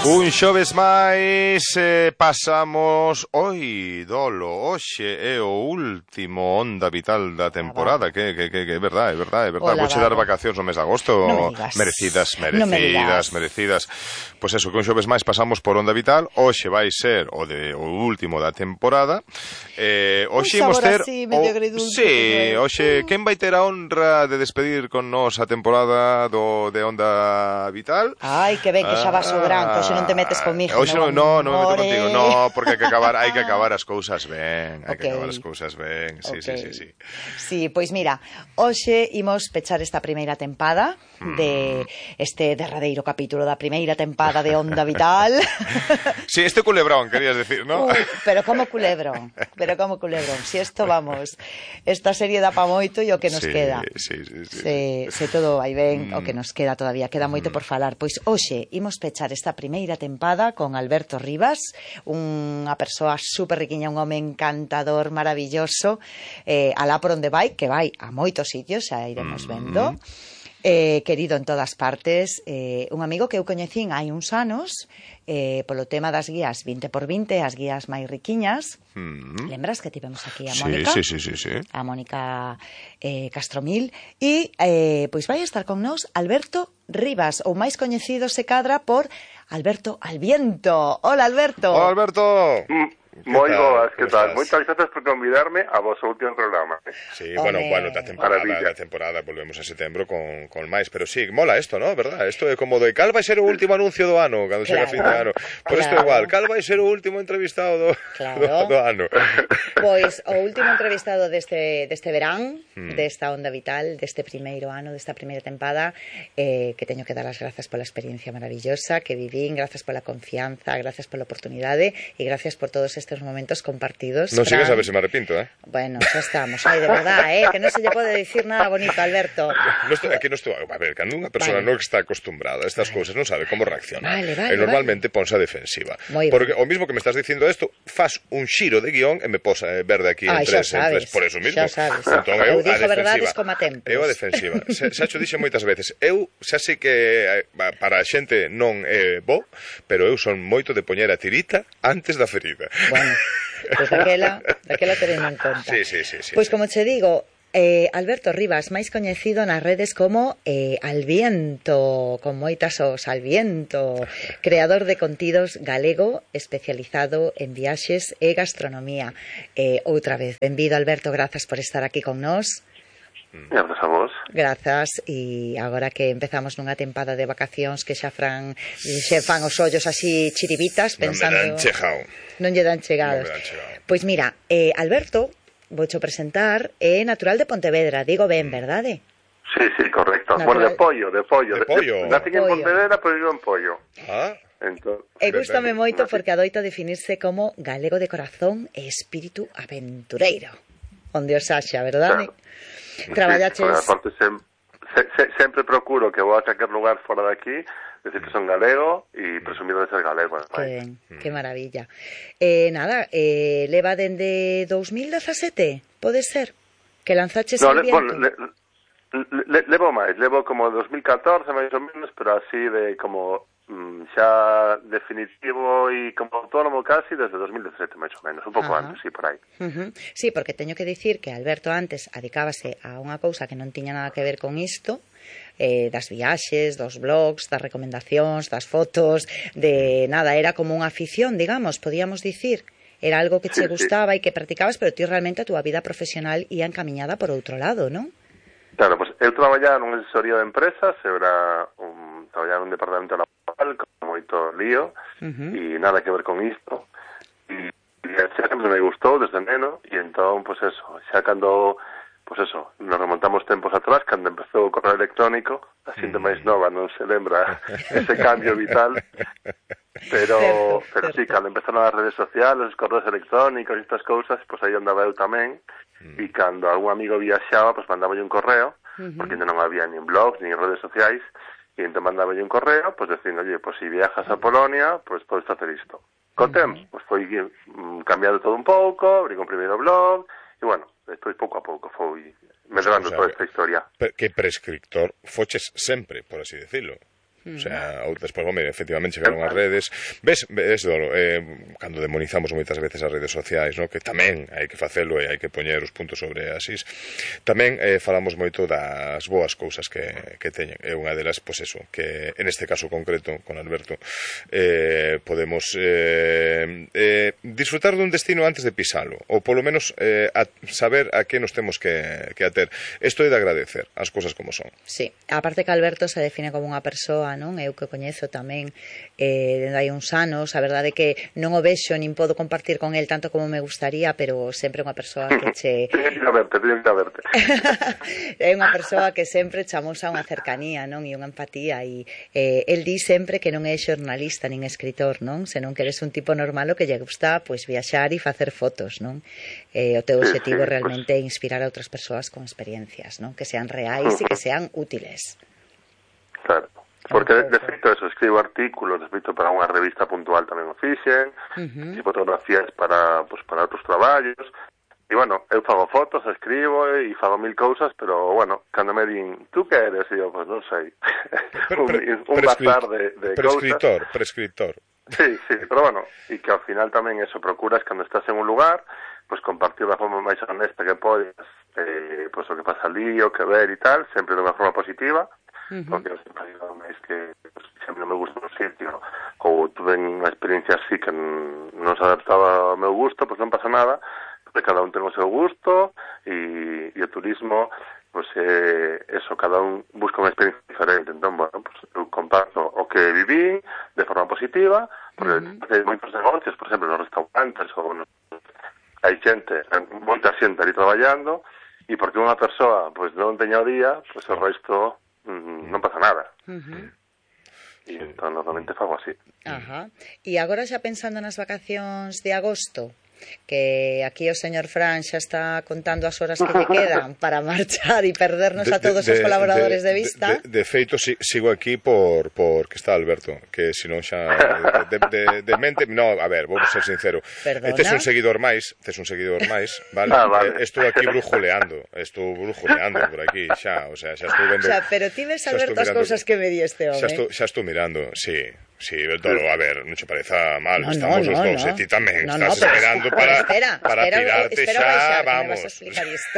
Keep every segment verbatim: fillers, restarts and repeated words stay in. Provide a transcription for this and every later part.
Un xoves máis eh, pasamos oi, dolo, hoxe é o último Onda Vital da temporada, que, que, que, que é verdade, é verdade, é verdade. Vouche dar vacacións no mes de agosto, no merecidas, merecidas, no merecidas. Pois pues eso, que un xoves máis pasamos por Onda Vital, hoxe vai ser o de o último da temporada. Eh, hoxe imos ter así, medio agridulce, sí, hoxe uh. quen vai ter a honra de despedir con nós a temporada do de Onda Vital? Ai, que ben que xa vas sobrando, hoxe non te metes comigo. Hoxe non, no, non me meto contigo, no, porque hai que acabar, hai que acabar as cousas ben, hai okay. que acabar as cousas ben. Sí, okay. sí, sí, sí. Sí, pois mira, hoxe imos pechar esta primeira tempada mm. de este derradeiro capítulo da primeira tempada de Onda Vital. Sí, este culebrón, querías decir, ¿no? Uy, pero como culebrón, pero como culebrón. Si esto, vamos, esta serie dá pa moito e o que nos sí, queda. Sí, sí, sí. Se, se todo vai ben, mm. o que nos queda todavía, queda moito por falar. Pois hoxe imos pechar esta primeira tempada con Alberto Rivas, unha persoa super riquiña, un home encantador, maravilloso, eh, alá por onde vai, que vai a moitos sitios, xa iremos vendo, eh, querido en todas partes, eh, un amigo que eu coñecín hai uns anos, eh, polo tema das guías vinte por vinte, as guías máis riquiñas. Mm. Lembras que tivemos aquí a Mónica? Sí, sí, sí, sí, sí. A Mónica eh, Castromil, e eh, pois vai estar con nós Alberto Rivas, ou máis coñecido se cadra por Alberto Alviento. Hola, Alberto. Hola, Alberto. Mm, moi boas, que tal? Moitas grazas por convidarme a vosso último programa. Sí, bueno, Home. bueno, da temporada, da temporada volvemos en setembro con, con máis, pero sí, mola isto, ¿no? Verdad? Isto é como de cal vai ser o último anuncio do ano, cando chega claro, fin de ano. Por isto claro. igual, cal vai ser o último entrevistado do, claro. do, do ano. Pois o último entrevistado deste, deste verán, hmm. desta Onda Vital, deste primeiro ano, desta primeira tempada, eh, que teño que dar as grazas pola experiencia maravillosa que vivín, grazas pola confianza, grazas pola oportunidade e gracias por todos estes momentos compartidos. Non sigues a ver se me arrepinto, eh? Bueno, xa estamos. Ai, de verdad, eh, que non se lle pode dicir nada bonito, Alberto. No estou, aquí non estou, a ver, cando unha persona vale. non está acostumbrada a estas vale. cousas, non sabe como reaccionar. Vale, vale, e normalmente vale. ponse a defensiva. Muy Porque bien. o mismo que me estás dicindo isto, fas un xiro de guión e me posa eh, verde aquí ah, en tres, en tres, por eso mismo. Xa sabes. Entón, eu, eu dixo a verdades como a tempos. Eu a defensiva. Xa, xa xo dixe moitas veces. Eu xa sei que para a xente non é bo, pero eu son moito de poñer a tirita antes da ferida. Bueno, pois pues daquela, daquela teremos en conta. Sí, sí, sí, sí. Pois pues sí. como che digo, Eh, Alberto Rivas, máis coñecido nas redes como eh, Alviento, con moitas os Alviento, creador de contidos galego especializado en viaxes e gastronomía. Eh, outra vez, benvido Alberto, grazas por estar aquí con nós. Grazas a vos. Grazas, e agora que empezamos nunha tempada de vacacións que xa fran, xe fan os ollos así chiribitas, pensando... Non me dan chegado. Non lle dan chegados. Non me dan chegado. Pois mira, eh, Alberto... Voucho presentar, é natural de Pontevedra, digo ben, verdade? Sí, sí, correcto. Natural... Bueno, de pollo, de pollo. De pollo. Nací en Pontevedra, pero vivo en pollo. Ah. Entón, e gústame moito porque adoita definirse como galego de corazón e espírito aventureiro. Onde os haxa, verdade? Claro. Traballaches... Sí, aparte, sem, se, se, sempre procuro que vou a calquer lugar fora de aquí, decir que son galego e presumido de ser galego. Que ben, que maravilla. Eh, nada, eh, leva dende dos mil dezasete, pode ser? Que lanzaches no, el le, viento? Bueno, le, le, levo máis, levo como dos mil catorce, máis ou menos, pero así de como mm, xa definitivo e como autónomo casi desde dos mil dezasete, máis ou menos, un pouco Ajá. antes, sí, por aí. Uh-huh. Sí, porque teño que dicir que Alberto antes adicábase a unha cousa que non tiña nada que ver con isto, eh, das viaxes, dos blogs, das recomendacións, das fotos, de nada, era como unha afición, digamos, podíamos dicir. Era algo que che gustaba e que practicabas, pero ti realmente a túa vida profesional ia encamiñada por outro lado, non? Claro, pues eu traballaba nunha asesoría de empresas, eu era un, traballaba nun departamento laboral con moito lío uh-huh. e nada que ver con isto. E, e xa sempre me gustou desde neno e entón, pues eso, xa cando... Pois pues eso, nos remontamos tempos atrás, cando empezou o correo electrónico, a xente máis nova non se lembra ese cambio vital, pero, certo, pero certo. sí, cando empezaron as redes sociales, os correos electrónicos e estas cousas, pois pues aí andaba eu tamén, mm. e cando algún amigo viaxaba, pois pues mandaba un correo, uh-huh. porque non había nin blogs, nin redes sociais, e entón mandaba un correo, pois pues, dicindo, oye, pois pues, si viajas a Polonia, pois pues, podes facer isto. Co uh-huh. tempo, pois pues, foi mm, cambiando todo un pouco, abrí un primeiro blog, e bueno, despois pouco a pouco foi medrando o sea, toda esta historia. Que prescriptor foches sempre, por así decirlo. O sea, despois, home, efectivamente chegaron as redes. Ves, ves, Dolo, eh, cando demonizamos moitas veces as redes sociais, no? Que tamén hai que facelo e hai que poñer os puntos sobre as is. Tamén eh, falamos moito das boas cousas que, que teñen. É unha delas, pois eso, que en este caso concreto, con Alberto, eh, podemos eh, eh, disfrutar dun destino antes de pisalo, ou polo menos eh, a saber a que nos temos que, que ater. Isto é de agradecer as cousas como son. Sí, aparte que Alberto se define como unha persoa, non? Eu que coñezo tamén eh, dende hai uns anos, a verdade é que non o vexo nin podo compartir con el tanto como me gustaría, pero sempre unha persoa que che... Teño que verte, teño que verte. É unha persoa que sempre chamosa unha cercanía, non? E unha empatía, e eh, el di sempre que non é xornalista nin escritor, non? Senón que eres un tipo normal o que lle gusta, pois, viaxar e facer fotos, non? Eh, o teu sí, objetivo sí, realmente é pues... inspirar a outras persoas con experiencias, non? Que sean reais uh-huh. e que sean útiles. Claro, porque de, de feito eso, escribo artículos, de feito para unha revista puntual tamén o fixen, uh-huh. e fotografías para, pues, para outros traballos, e bueno, eu fago fotos, escribo e fago mil cousas, pero bueno, cando me din, tú que eres? E eu, pues non sei, un, un bazar de, de prescritor, cousas. Prescritor, Sí, sí, pero bueno, e que ao final tamén eso, procuras cando estás en un lugar, pues compartir da forma máis honesta que podes, eh, pues o que pasa ali, o que ver e tal, sempre de unha forma positiva, uh-huh. porque eu sempre digo máis que pues, sempre non me gusta un sitio, ou tuve unha experiencia así que non se adaptaba ao meu gusto, pues non pasa nada, porque cada un ten o seu gusto, e, e o turismo, pues eh, eso, cada un busca unha experiencia diferente, entón, bueno, pues eu comparto o que viví de forma positiva, porque uh-huh. hai moitos negocios, por exemplo, nos restaurantes, ou nos hai xente, moita xente ali traballando, e porque unha persoa pues, non teña o día, pues o resto mm, non pasa nada. Uh-huh. E entón, normalmente fago así. Ajá. E agora xa pensando nas vacacións de agosto, que aquí o señor Fran xa está contando as horas que lle quedan para marchar e perdernos de, a todos de, os colaboradores de, de vista. De, de, de feito, si, sigo aquí por, por que está Alberto, que senón xa de, de, de mente, no, a ver, vou ser sincero. Perdona? Tes un seguidor máis, tes un seguidor máis, vale? Ah, vale. Eh, estou aquí brujuleando, estou brujuleando por aquí, xa, o sea, xa estou vendo. O sea, pero ti ves Alberto as cousas que me di este home. Xa estou, xa estou mirando, sí. Sí, Dolo, a ver, non che pareza mal, no, estamos no, os no, dous, no. e ti tamén no, estás no, esperando pero, para, espera, para espera, tirarte espera xa, baixar, vamos. Me vas a explicar isto.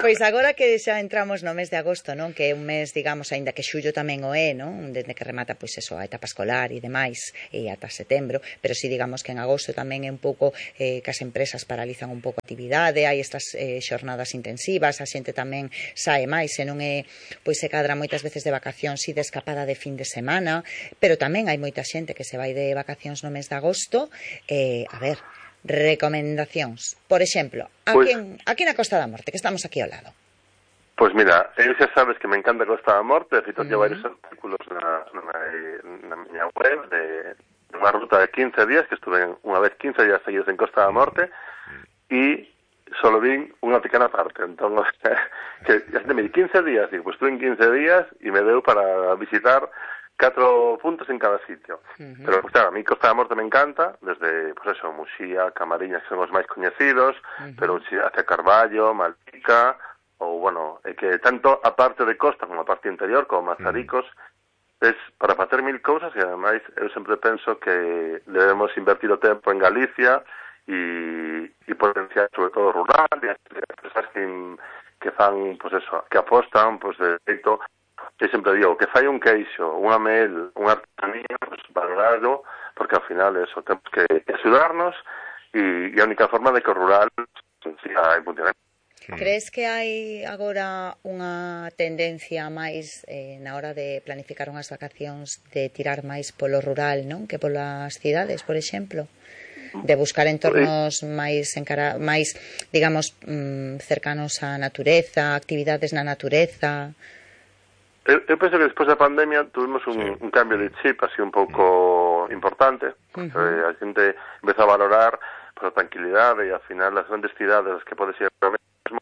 Pois agora que xa entramos no mes de agosto, non? Que é un mes, digamos, aínda que xullo tamén o é, non? Desde que remata, pois eso, a etapa escolar e demais, e ata setembro, pero si digamos que en agosto tamén é un pouco eh, que as empresas paralizan un pouco a actividade, hai estas eh, xornadas intensivas, a xente tamén sae máis, e non é, pois se cadra moitas veces de vacacións e de escapada de fin de semana, pero tamén hai moita xente que se vai de vacacións no mes de agosto. Eh, a ver, recomendacións. Por exemplo, aquí, pues, en, aquí na Costa da Morte, que estamos aquí ao lado. Pois pues mira, eu xa sabes que me encanta Costa da Morte, de feito, uh-huh. varios artículos na, na, na miña web de unha ruta de quince días, que estuve unha vez quince días seguidos en Costa da Morte, e solo vin unha pequena parte, entón, o sea, que me di quince días, digo, pues estuve en quince días e me deu para visitar catro puntos en cada sitio. Uh-huh. Pero, pues, claro, a mí Costa da Morte me encanta, desde, pues eso, Muxía, Camariñas, que son os máis coñecidos, uh-huh. pero hacia Carballo, Malpica, ou, bueno, é que tanto a parte de costa como a parte interior, como Mazaricos, uh-huh. es para facer mil cousas, e ademais eu sempre penso que debemos invertir o tempo en Galicia e, e potenciar sobre todo rural, e as persoas que, que fan, pues eso, que apostan, pues, de feito, que sempre digo, que fai un queixo, unha mel, unha artesanía, pues, valorado, porque ao final eso, temos que axudarnos, e, e a única forma de que o rural siga en funcionamento. Crees que hai agora unha tendencia máis eh, na hora de planificar unhas vacacións de tirar máis polo rural, non? Que polas cidades, por exemplo? De buscar entornos máis, encara, máis digamos, mm, cercanos á natureza, actividades na natureza. Eu, eu penso que despois da pandemia tuvimos un, sí. un cambio de chip así un pouco importante, porque uh-huh. a xente empezou a valorar por a tranquilidade, e ao final as grandes cidades as que podes ir ahora mesmo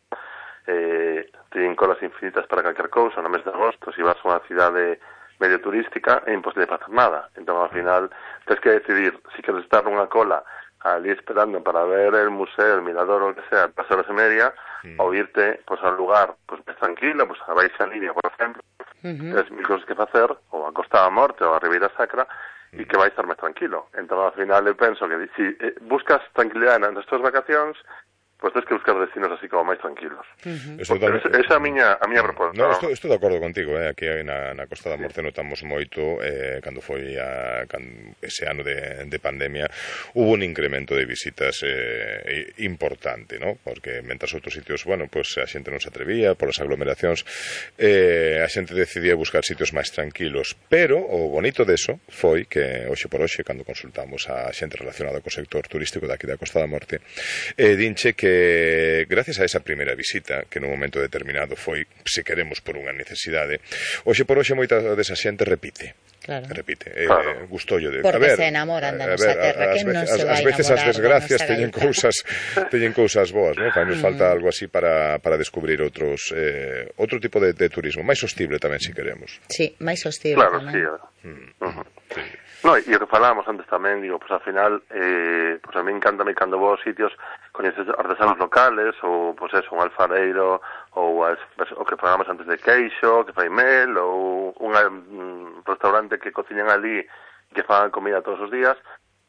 eh, teñen colas infinitas para calquer cousa. No mes de agosto, se vas a unha cidade medio turística, é imposible facer nada. Entón, ao final, tens que decidir se queres estar nunha cola ali esperando para ver el museo, el mirador o o que sea, pasar esa media, mm. ou irte pues, a un lugar pues, máis tranquilo, pues, a Baixa Línea, por exemplo, Uh-huh. Tens mil cosas que facer, ou a Costa da Morte, ou a Ribeira Sacra, e que vai estar máis tranquilo. Entón, ao final, eu penso que se si, eh, buscas tranquilidade nas tuas vacacións, pois tens que buscar destinos así como máis tranquilos. Uh-huh. Totalmente... Esa é a miña, a miña proposta. No, estou, estou de acordo contigo, eh? Aquí na, na Costa da Morte notamos moito, eh, cando foi a, cando, ese ano de, de pandemia, hubo un incremento de visitas eh, importante, ¿no? Porque mentras outros sitios, bueno, pues a xente non se atrevía polas aglomeracións, eh, a xente decidía buscar sitios máis tranquilos, pero o bonito deso foi que hoxe por hoxe, cando consultamos a xente relacionada co sector turístico daqui da Costa da Morte, eh, dinche que gracias a esa primeira visita, que nun momento determinado foi, se queremos, por unha necesidade, hoxe por hoxe moita desa xente repite. Claro. Repite, eh, claro. Gustollo de... Porque a ver, se enamoran da nosa terra, que non se vai enamorar. As veces as desgracias teñen cousas teñen cousas boas, ¿no? Para nos falta algo así para, para descubrir outros eh, outro tipo de, de turismo, máis sostible tamén, se si queremos. Sí, máis sostible claro, tamén. Sí, uh -huh. Sí. No, e o que falábamos antes tamén, digo, pues ao final, eh, pues a mí encanta me cando vou aos sitios coñeces artesanos locales, ou, pues eso, un alfareiro, ou as, o que falábamos antes de queixo, que fai mel, ou un, un restaurante que cociñan ali, que fan comida todos os días,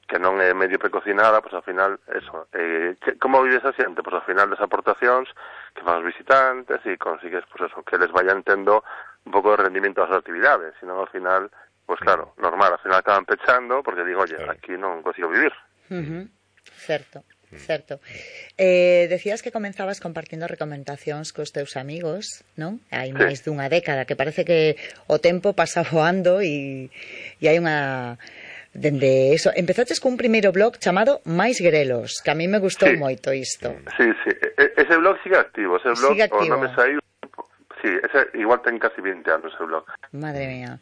que non é medio precocinada, pues ao final, eso, eh, que, como vives a xente? Pues ao final das aportacións que fan os visitantes, e consigues, pues eso, que les vayan tendo un pouco de rendimento das actividades, senón ao final... Pues claro, normal, al final acaban pechando porque digo, oye, claro, aquí non consigo vivir. Uh-huh. Certo, certo. Eh, decías que comenzabas compartindo recomendacións cos teus amigos, non? Hai sí. máis dunha década, que parece que o tempo pasa voando e, e hai unha... Dende eso, empezaches cun primeiro blog chamado Mais Grelos, que a mí me gustou sí. moito isto. Sí, sí, ese blog sigue activo, ese blog sigue activo. O nome saiu. Sí, ese igual ten casi veinte anos ese blog. Madre mía,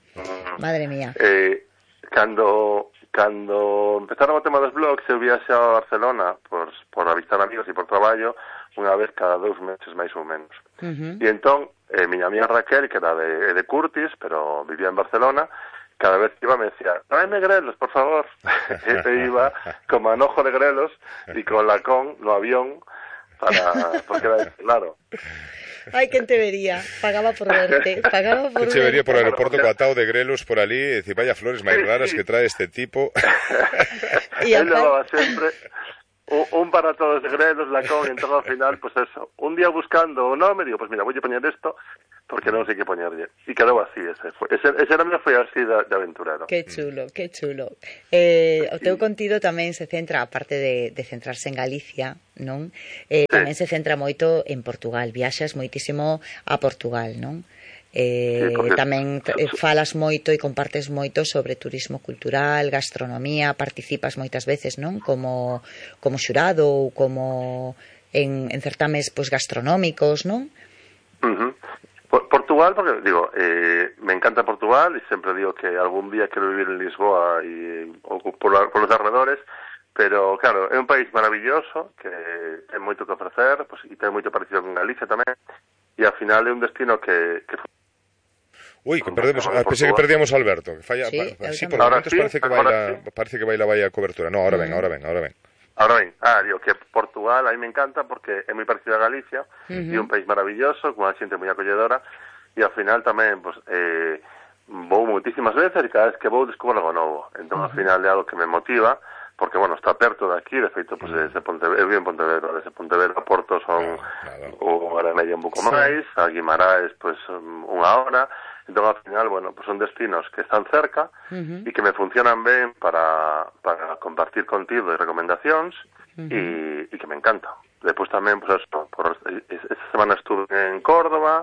madre mía. Eh, cando, cando empezaron o tema dos blogs, eu viaxaba a Barcelona por, por avistar amigos e por traballo unha vez cada dous meses máis ou menos. Uh-huh. E entón, eh, miña amiga Raquel, que era de, de Curtis, pero vivía en Barcelona, cada vez que iba me decía, tráeme grelos, por favor. E te iba con manojo de grelos e con lacón no avión para, porque era claro. Ai, quen te vería, pagaba por verte, pagaba por verte. Te vería por o aeroporto co atao de grelos por ali e dicir, vaya flores máis raras que trae este tipo. E él levaba sempre un, un para todos de grelos, lacón, e entón ao final, pues eso, un día buscando o nome, digo, pues mira, voulle poñer isto, porque non sei que poñerlle. E quedou así, ese foi. Ese, ese era foi así de, de aventurero. Que chulo, que chulo. Eh, o teu contido tamén se centra, aparte de, de centrarse en Galicia, non? Eh, sí. Tamén se centra moito en Portugal, viaxas moitísimo a Portugal, non? Eh, sí, porque... tamén falas moito e compartes moito sobre turismo cultural, gastronomía, participas moitas veces, non? Como, como xurado ou como en, en certames pues, gastronómicos, non? Uh-huh. Portugal, porque digo, eh, me encanta Portugal e sempre digo que algún día quero vivir en Lisboa e, ou por, por los arredores, pero claro, é un país maravilloso que ten moito que ofrecer, pues, e ten moito parecido con Galicia tamén, e ao final é un destino que... que Uy, que perdemos, ah, pensé que perdíamos a Alberto, que falla, sí, pa, sí por momentos sí, parece que baila, sí. parece que baila vaya cobertura. No, ahora mm. ven, ahora ven, ahora ven. Ahora ben, ah, digo que Portugal a mí me encanta porque é moi parecido a Galicia, uh -huh. e un país maravilloso, con unha xente moi acolledora, e ao final tamén, pues, eh, vou moitísimas veces e cada vez que vou descubro algo novo. Entón, uh -huh. ao final é algo que me motiva, porque, bueno, está perto de aquí, de feito, pues, desde Pontevedra, eu vivo en Pontevedra, desde Pontevedra a Porto son claro, claro. o hora e media un pouco sí. máis, a Guimaraes, pues, unha hora. Entón, ao final, bueno, pues son destinos que están cerca uh -huh. e que me funcionan ben para, para compartir contigo e recomendacións uh -huh. e, e que me encanta. Despois tamén, pues, eso, por, esta semana estuve en Córdoba,